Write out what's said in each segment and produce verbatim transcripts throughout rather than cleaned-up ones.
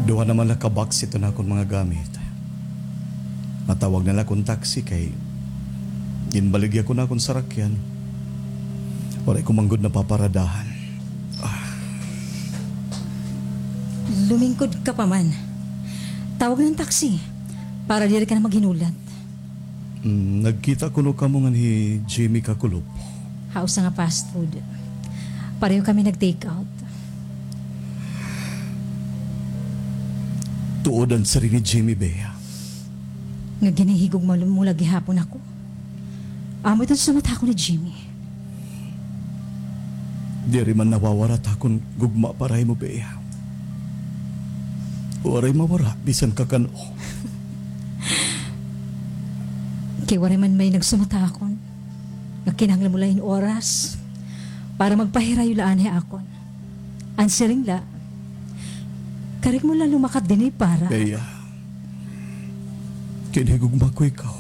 Duha naman la ka box iton akon mga gamit. Matawag na la akon taxi kay ginbaligya ko na akon sarakyan. Waray ko man gud napaparadahan. Ah. Lumingkod ka pa man. Tawag na an taxi para diri ka na maghinulat. Mm, nagkita kuno kamo ngan hi Jimmy kakulop? Ha usa nga fast food. Pareho kami nag-take out. Tuod an siring ni Jimmy, Bea. Nga ginhihigugma mo la gihapon ako. Amo iton sumatakon ni Jimmy. Diri man nawawara it akon gugma para ha imo, Bea. Waray mawara bisan kakan-o. Kay waray man may nagsumatakon nga kinahanglan mo la hin oras para magpahirayo la anay ha akon. An siring la, karuyag mo la lumakat dinhi para. Bea, ginhigugma ko ikaw.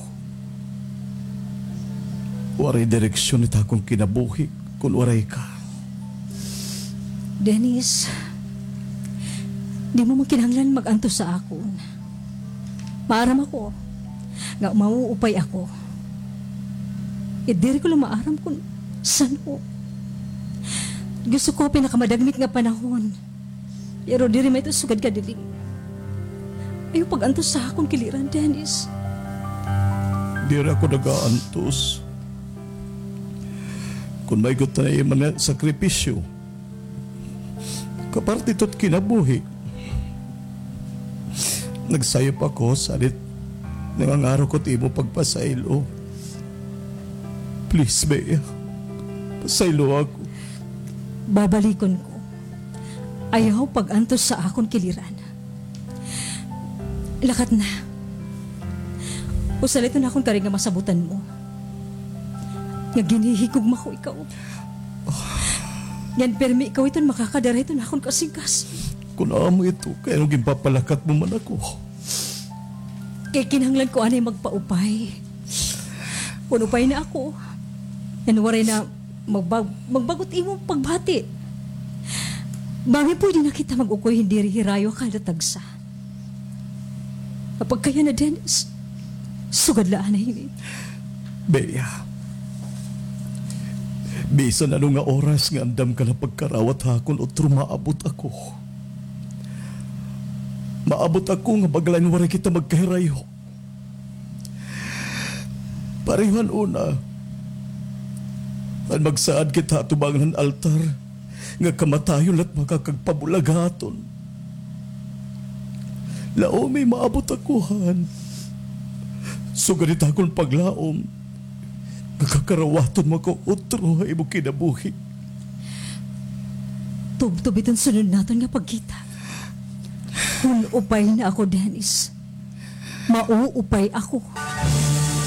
Waray direksyon it akon kinabuhi kon waray ka. Dennis, di mo man kinahanglan mag-antos ha akon. Maaram ako nga mauupay ako. It diri ko la maaram kon san-o. Gusto ko ha pinakamadagmit nga panahon. Pero diri man ito sugad kadali. Ayaw pag-antos ha akon kiliran, Dennis. Diri ako nag-aantos. Kon may gusto na iman nga sakripisyo, kaparte ito it kinabuhi. Nagsayop ako, salit nangangaro ko it imo pagpasaylo. Please, Bea. Pasayloa ako. Babalikon ko. Ayaw pag-antos ha akon kiliran. Lakat na. Usa la iton akon karuyag nga masabutan mo. Nga ginhihigugma ko ikaw. Ngan pirmi ikaw iton makakadara hiton akon kasingkasing. Kon amo ito, kay ano ginpapalakat mo man ako? Kay kinahanglan ko anay magpaupay. Kon upay na ako, ngan waray na magbag-, magbag-o it imo pagbati. Bangin pwede na kita mag-ukoy hin diri hirayo kada tagsa. Apagkaya na, Dennis, sugad la anay hini. Bea, bisan ano nga oras nga andam ka na pagkarawat ha akon, utro maabot ako. Maabot ako nga maglain waray kita magkahirayo. Pareho han una, an magsaad kita ha atubangan han altar, nga kamatayon la it makakagpabulag ha aton. Laomi, maabot ako han. Sugad it akon paglaom nga kakarawaton mo ako utro ha imo kinabuhi. Tubtob iton sunod naton nga pagkita. Kon upay na ako, Dennis, mauupay ako.